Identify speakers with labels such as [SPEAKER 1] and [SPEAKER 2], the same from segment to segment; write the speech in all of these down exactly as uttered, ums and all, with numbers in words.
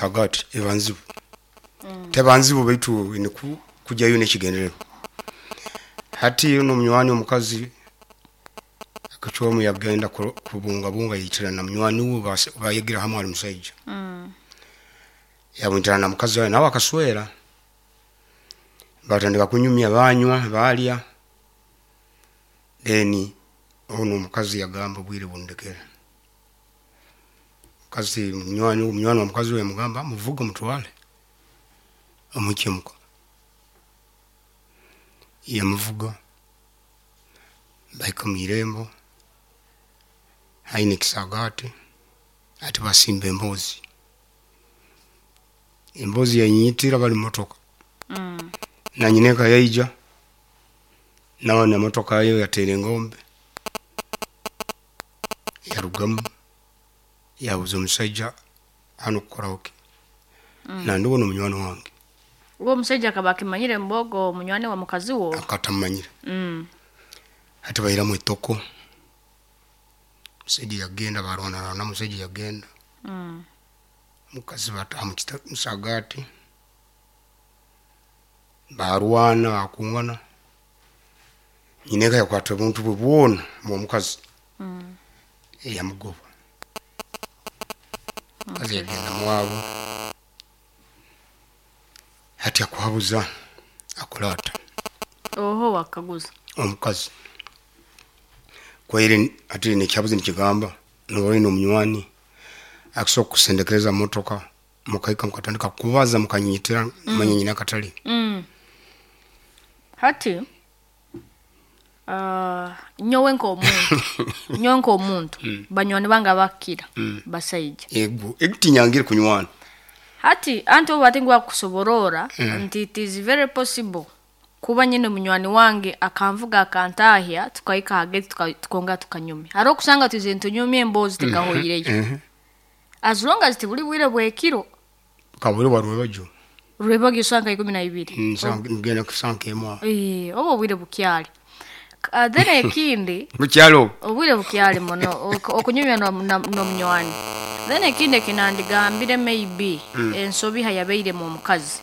[SPEAKER 1] Hagati eba nzibu, teba nzibu baitu ine ku- kujyayo n'ekigendererwa. Hati n'omunywani omukazi akacwamu yagenda ku- kubungabunga, yaitirana na munywani we base- bayegira hamwe ali musaija, yamwitirana na mukazi we nawe akaswera, batandika kunyumya, banywa, balya. Then ono omukazi yagamba, "Obwire bundekere." Mukazi munywani munywani wa mukazi we yamugamba, "Muvuge omutwale omuhikye muka." Yamuvuga, bahika mwirembo haine ekisagati. Ati basimba emboozi, emboozi yayinyitira bali mumotoka.
[SPEAKER 2] Mm.
[SPEAKER 1] Na nyineka yaija nawe nemotoka ye, yatera engombe, yarugamu, yabuza omusaija, "Hanu kukoraho ki?" "Nandiwe nomunywani wange."
[SPEAKER 2] Uwo omusajja akaba akimanyire mbogo munywani wa mukazi wo?
[SPEAKER 1] Akatamumanyire.
[SPEAKER 2] Mm.
[SPEAKER 1] Hati bairamu etoko, omusaija yagenda, barwanarwana, omusaija yagenda.
[SPEAKER 2] Mm.
[SPEAKER 1] Mukazi bataha mukita- musagati, barwana, bakungana. Nyineka yakwata obuntu bwe bwona bwomukazi.
[SPEAKER 2] Mm.
[SPEAKER 1] Yamugoba. Mukazi yagenda muwabo. Hati akuhabuza akola ata?
[SPEAKER 2] Oho wakaguza?
[SPEAKER 1] Omukazi kwaire ati nekyabuzi nikigamba noba oine omunywani akusobola kukusendekereza mumotoka, mukahika mukatandika kubaza, mukanyitira, manya nyina akatali.
[SPEAKER 2] Mm. Hati uh, nyowe nk'omuntu nyowe nk'omuntu banywani bange abakira basaija.
[SPEAKER 1] Ego egutinyangire kunywana.
[SPEAKER 2] Hati anti obu bati ngu bakusoborora nti it is very possible kuba nyine munywani wange akanvuga akantahya, tukahika hagati, tuka- tukongera tukanyumya. Hariho okusanga twize nitunyumya emboozi tekahoireyo, as long as tibuli bwire bwekiro.
[SPEAKER 1] Kabure warwebajo.
[SPEAKER 2] Rwebagyo sanga ikumi na ibiri.
[SPEAKER 1] Ngenda kusanka emu aho.
[SPEAKER 2] Eh, oba obwire bukyali. Uh, then ekindi,
[SPEAKER 1] mukyalo.
[SPEAKER 2] Obwire bukyali muno ok- okunyumya no- na- n'omunywani. Then ekindi ekinandigambire, maybe ensobi hayabeiremu omukazi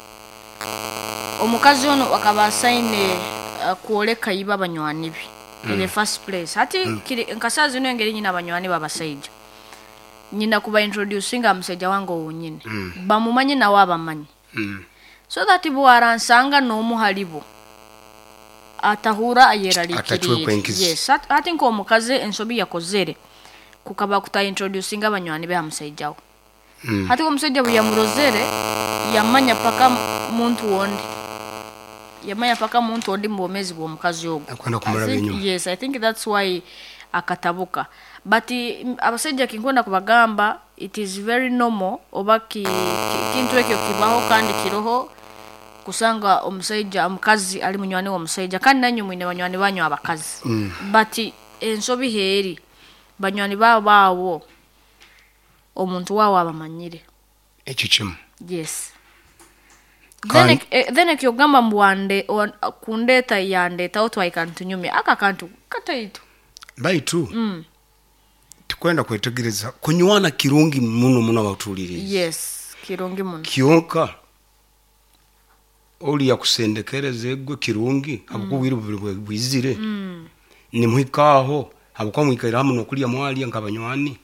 [SPEAKER 2] omukazi ono akaba asaine uh, kwoleka iba abanywani be in the first place. Hati kiri nkasaa zino, engeri nyina abanywani babasaija, nyina kuba introducinga musajja wange owunyine, bamumanye nawe abamanyi,
[SPEAKER 1] Mm.
[SPEAKER 2] so that bwaransanga n'omu halibo atahura
[SPEAKER 1] Atacwekwa
[SPEAKER 2] ayeraliikiriire.
[SPEAKER 1] enkizi.
[SPEAKER 2] Yes, hati hati nk'omukazi ensobi yakozere kukaba kuta introducinga abanywani be ha musajja we.
[SPEAKER 1] Mm.
[SPEAKER 2] Hati omusajja bwe yamurozere, yamanya paka muntu wondi, yamanya paka muntu ondi mu bwomezi bw'omukazi ogwo.
[SPEAKER 1] Akwenda kumuraba
[SPEAKER 2] I think-
[SPEAKER 1] enyuma.
[SPEAKER 2] Yes, I think that's why akatabuka. But mm, abasajja kinkwenda kubagamba, it is very normal oba ki, ki, kintu ekyo kibaho kandi kiroho kusanga omusaija omukazi ali munywani w'omusaija, kandi nanywe mwine banywani banyu abakazi.
[SPEAKER 1] Mm.
[SPEAKER 2] But ensobi heeri banywani baabo baawo omuntu waawo abamanyire.
[SPEAKER 1] Ekyo kimu.
[SPEAKER 2] Yes.
[SPEAKER 1] Kandi-
[SPEAKER 2] Then, eh, then ekyogamba mbu wande wan- kundeeta yandeetawo twahika nitunyumya, aka kantu kataito.
[SPEAKER 1] Baitu
[SPEAKER 2] mm.
[SPEAKER 1] tikwenda kwetegereza, kunywana kirungi muno muno abatuulirize.
[SPEAKER 2] Yes, kirungi muno.
[SPEAKER 1] Kyonka oli yakusendekereza egwe kirungi habwokuba obwire bubiri bwe- bwizire,
[SPEAKER 2] mm.
[SPEAKER 1] nimuhika aho habwokuba mwikaire hamu nokulya, mwalya nk'abanywani,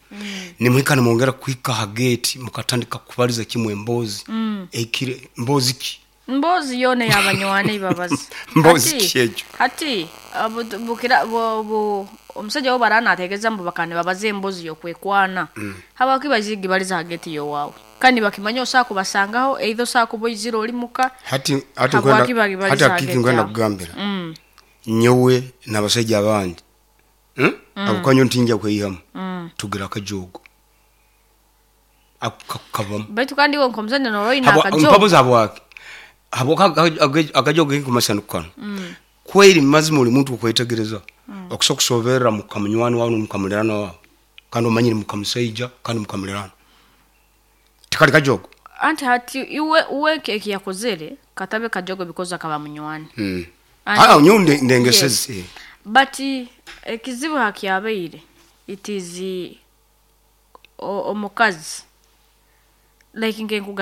[SPEAKER 1] nimuhika nimwongera kuhika ha gate, mukatandika kubaliza kimwe emboozi.
[SPEAKER 2] Mm.
[SPEAKER 1] Ekire mboozi ki?
[SPEAKER 2] Mboozi yoona eyabanywani babazi.
[SPEAKER 1] Mboozi
[SPEAKER 2] Hati-
[SPEAKER 1] ki ekyo?
[SPEAKER 2] Hati abu- bukira bu- bu- omusajja wo baranategereza mbu bakane babaze emboozi yokwekwana, habwaki bazigi baliza hageti yowaawe kandi bakimanya osaa kubasangaho, either osaa kuba oizire oli muka?
[SPEAKER 1] Hati hati
[SPEAKER 2] Habwaki
[SPEAKER 1] nkwenda-
[SPEAKER 2] bagibaliza
[SPEAKER 1] hati akiki
[SPEAKER 2] hageti
[SPEAKER 1] nkwenda
[SPEAKER 2] aho?
[SPEAKER 1] kugambira,
[SPEAKER 2] Mm.
[SPEAKER 1] nyowe n'abasajja abandi, Hmm? Habwokuba nyowe ntinja kweyihamu.
[SPEAKER 2] Mm.
[SPEAKER 1] Tugira akajogo ako kakukabamu.
[SPEAKER 2] Baitu kandi iwe nk'omusajja noba oine
[SPEAKER 1] Habwa-
[SPEAKER 2] akajogo.
[SPEAKER 1] mpabuza habwaki, habwokuba akajogo kenkumasanu kano kweri mazima oli muntu okwetegereza okusobola kusoberera mukamunywani wawe nomukamulirano wawe, kandi omanyire mukamusaija kandi mukamulirano, tikali kajogo.
[SPEAKER 2] Anti hati iwe uwe eki yakozere katabe kajogo because akaba munywani.
[SPEAKER 1] Mm.
[SPEAKER 2] Anti-
[SPEAKER 1] Ah, nyowe nde- ndengesezi.
[SPEAKER 2] Yes. But ekizibu hakyabaire, it is o- omukazi Like nkenkugamba.